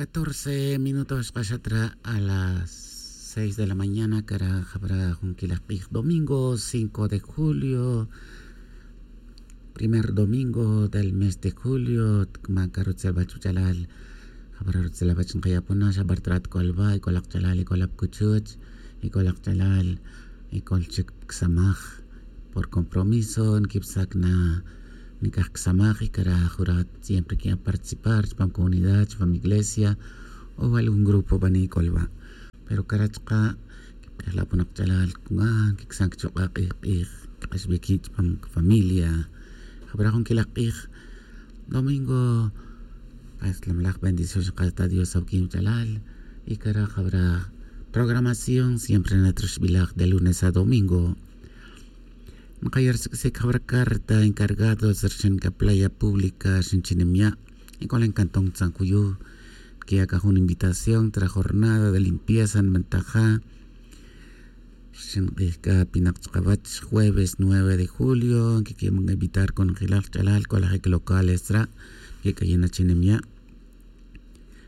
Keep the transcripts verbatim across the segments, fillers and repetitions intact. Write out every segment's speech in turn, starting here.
Catorce minutos xkaxatra a las seis de la mañana cara jabra jun quilaj k'ij domingo cinco de julio, primer domingo del mes de julio. Cama cara rutzelabach wach'alal, jabra rutzelabach nkayapona xabar trat c'olba y c'olak ch'alal y c'olak cuchuch y c'olak ch'alal y c'ol chic csamaj. Por compromiso nquipsac na nic'aj csamaj y cara jura siempre que'an participar chupam comunidad chupam iglesia o algún grupo bani c'olba. Pero cara chuka' quipk'ejla ponak ch'alal cungan quicsan quechuk'a' k'ij k'ij quik'axbic quib chupam familia. Jabra jun quilaj k'ij domingo, pues lamlaj bendición xak'as ta dios awuquin wach'alal. Y cara jabra programación siempre natroxbilaj de lunes a domingo. Nkaya' rsiq'uisic jabra carta encargado rxin ca playa pública rxin chi nimya' y c'ola en cantón tzanjuyu. Nquiya' c'a jun invitación tra jornada de limpieza nbentaja rxin k'ij c'a pinak chkawach jueves nueve de julio nquiquimon invitar conjelal ch'alal c'olajic locales tra. Quic'ayina chi nimya'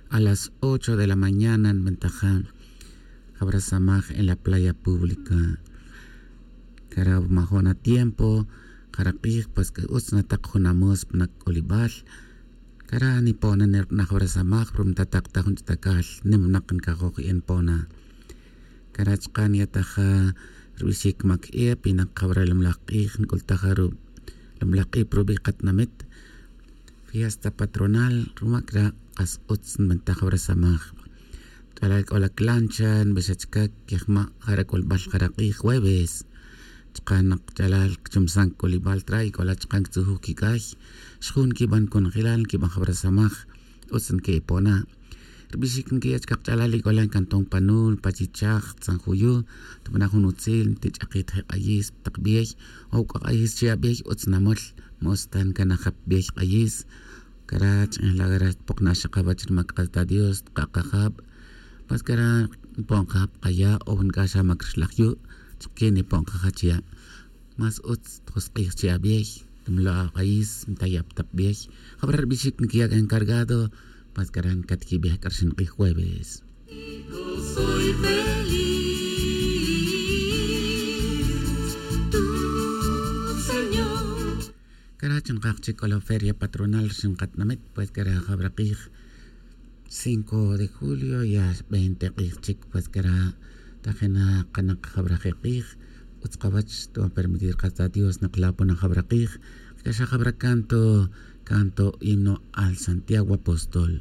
a las ocho de la mañana nbentaja jabra samaj en la playa pública. Cara majo'n atiempo jara k'ij pues utz natak jun amus pa nak'olibal. Cara nipona nirk'naj jabra samaj pero mtatak ta jun ch'atacal nimnak ncajoj y npona. Cara chuka' nyataja rubixic mac e pinak jabra lumlaj k'ij nc'ultaja lumlaj k'ij pa rubi' katinamit. Fiesta patronal ruma cra' kas utz nbentaj jabra samaj. Ch'alal c'ola clancha nbixa chica quejma' jara c'olbal jara k'ij jueves. Chuka' nak ch'alal cchumsan c'olibal tra y c'ola chuka' nctzujuj quic'ay xjun nquiban conjelal nquiban jabra samaj. Utz nque'ipona. Rbixic nquiya' chkak ch'alal y c'ola ncanton panul pachichaj tzanjuyu. Tubana' jun utzil ntich'akit je k'ayis tak biey o c'a k'ayis chi abiey utz namol. Mos ta ncanajap biey k'ayis. Cara ch'injla' cara tpokna' xakawach rmac k'as ta dios tkakajab. Mas cara npon kajab kaya' o nc'axa mac rxlaj yu'. Chukque nipon kajach ya' mas utz tjosk'ij chi abiey. Nmlo' ak'ayis ntayap tak biey. Jabra rbixic nquiya' encargado. Mas cara ncatquibej c'arxin k'ij jueves. Cara chi nkaj chic c'ola feria patronal rxin katinamit pues cara jabra k'ij cinco de julio ya veinte k'ij chic pues cara tajena kanak jabra je k'ij. Utz kawach tban permitir k'as ta dios nakla pona jabra k'ij. C'a xa jabra canto canto himno al santiago apóstol.